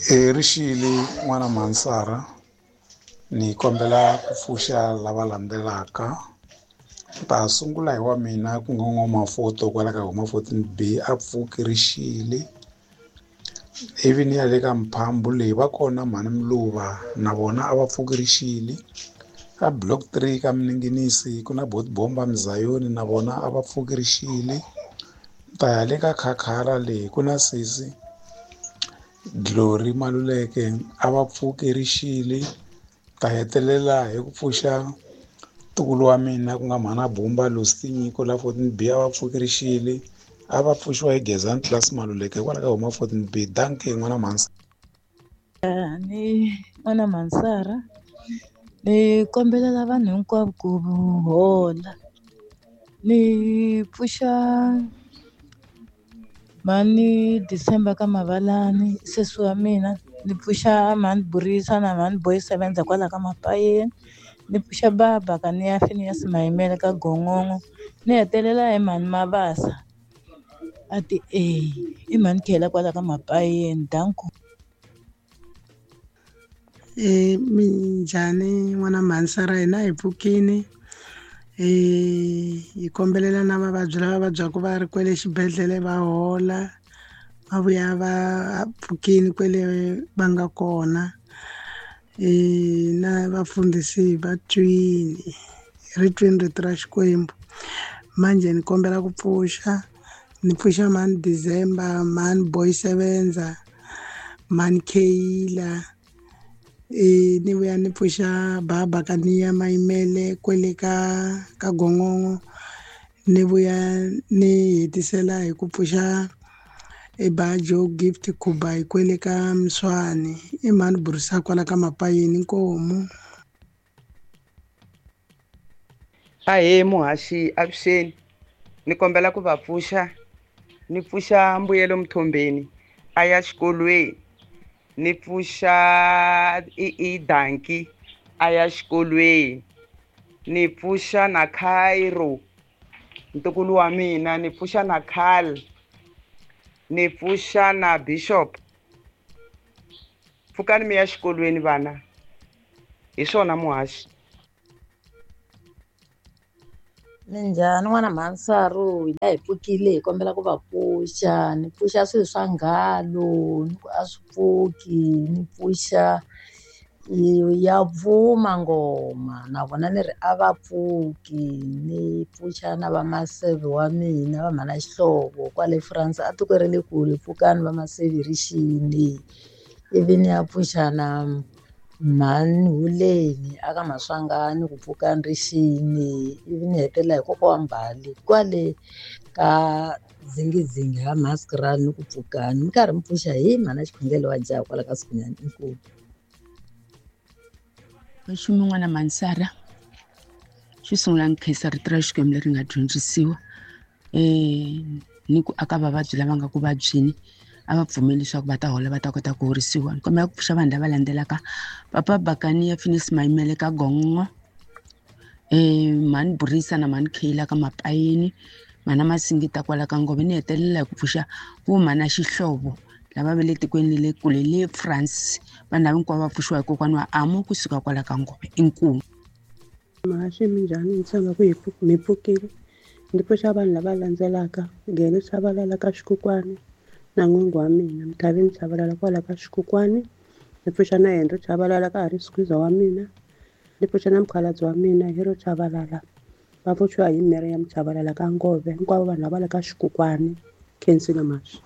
Rixile n'wana Mansara, ni kombela ku pfuxa lava landzelaka. Ni ta sungula hi wa mina ku nga N'wamafoto kwala ka huma 14 B a pfuki rixile. Ivi ni ya le ka Mphambu leyi va kona mhani Mluva na vona a va pfuki rixile. Ka block 3 ka Mininginisi ku na Botibomba Mzayoni na vona a va pfuki rixile. Ni ta ya le ka Khakhala leyi ku na sesi Glory Maluleke a va pfuki rixile. Ta hetelela hi ku pfuxa ntukulu wa mina ku nga mhana Bumba Lucy Nyiko la 14 B a va pfuki rixile. A va pfuxiwa hi Gezani Class Maluleke hikwalaho ka huma 14 B. Dankie n'wana Mhansa. Ni n'wana Mansara, ni kombelela vanhu hinkwavo ku hola. Ni pfuxa mhani December ka Mavalani sesi wa mina, ni pfuxa mhani Burisa na mhani Boy Sevenza kwala ka Mapayeni, ni pfuxa baba ka ni ya Phineas Mayimele ka Gongongo, ni hetelela hi mhani Mabasa a ti e i mhani Khela kwala ka Mapayeni. Danko. Minjhani n'wana Mhansara, hina hi pfukini hi kombelela na vavabyi lava vabyaka va ri kwele xibedhlele va hola va vuya va pfukini kwele va nga kona. Na vafundhisi va twini ri twini rito ra Xikwembu. Manje ni kombela ku pfuxa, ni pfuxa mhani December, mhani Boy Sevenza, mhani Kheyila, ni vuya ni pfuxa baba ka ni ya Mayimele kwele ka Gongongo, ni vuya ni hetisela hi ku pfuxa Bajo Gift Khubai kwele ka Mswani, i mhani Burisa kwala ka Mapayeni. Inkomu. Ahee muhaxi, avuxeni. Ni kombela ku va pfuxa, ni pfuxa Mbuyelo Mthombeni a ya xikolweni, ni pfuxa i Danki a ya xikolweni, ni pfuxa na Cairo ntukulu wa mina, ni pfuxa na Carl, ni pfuxa na Bishop. Pfukani mi ya xikolweni vana, hi swona muhaxi. Minjhani n'wana Mhansaru, hina hi pfukile hi kombela ku va pfuxa. Ni pfuxa swilo swa ngalo ni ku a swi pfuki, ni pfuxa ya pfuma ngoma na vona ni ri a va pfuki. Ni pfuxa na va maseve wa mina va mhana Xihlovo kwale France a tiko ra le kule, pfukani va maseve rixini. Ivi ni ya pfuxa na mhani Huleni aka Maswangani ku pfukani rixini. Ivi ni hetelela hi kokwa wa Mbali kwale ka Dzingidzingi ha Maskrani ni ku pfukani. Mi karhi mi pfuxa hi mhana Xikhongelo wa jaha kwala ka Sikhunyani. Inkomu. Nxumi n'wana Mansara, xo sungula ni khensa rito ra Xikwembu leri nga dyondzisiwa ni ku aka vavabyi lava nga ku vabyeni a va pfumeli leswaku va ta hola va ta kota ku horisiwa. Ni kombela ku pfuxa vanhu lava landzelaka: Papa Bakani ya Phineas Mayimele ka Gongongo, mhani Burisa na mhani Kheyila ka Mapayeni, mhana Masingita kwala ka Ngove. Ni hetelela hi ku pfuxa vo mhana Xihlovo lava va le tikweni le kule le France. Vanhu lava hinkwavo va pfuxiwa hi kokwana wa Amo kusuka kwala ka Ngove. Inkomu. Muhaxi, minjhani? Ni tshemba ku mi pfukile. Ndzi pfuxa vanhu lava landzelaka: Gele Chavalala ka Xikukwani na n'wingi wa mina Mthavini Chavalala kwala ka Xikukwani, ni pfuxa na Henry Chavalala ka ha ri squeezer wa mina, ni pfuxa na mukhalabye wa mina Hero Chavalala, va pfuxiwa hi Miriam Chavalala ka Ngove. Hinkwavo vanhu lava le ka Xikukwani. Khensile Mhaxi.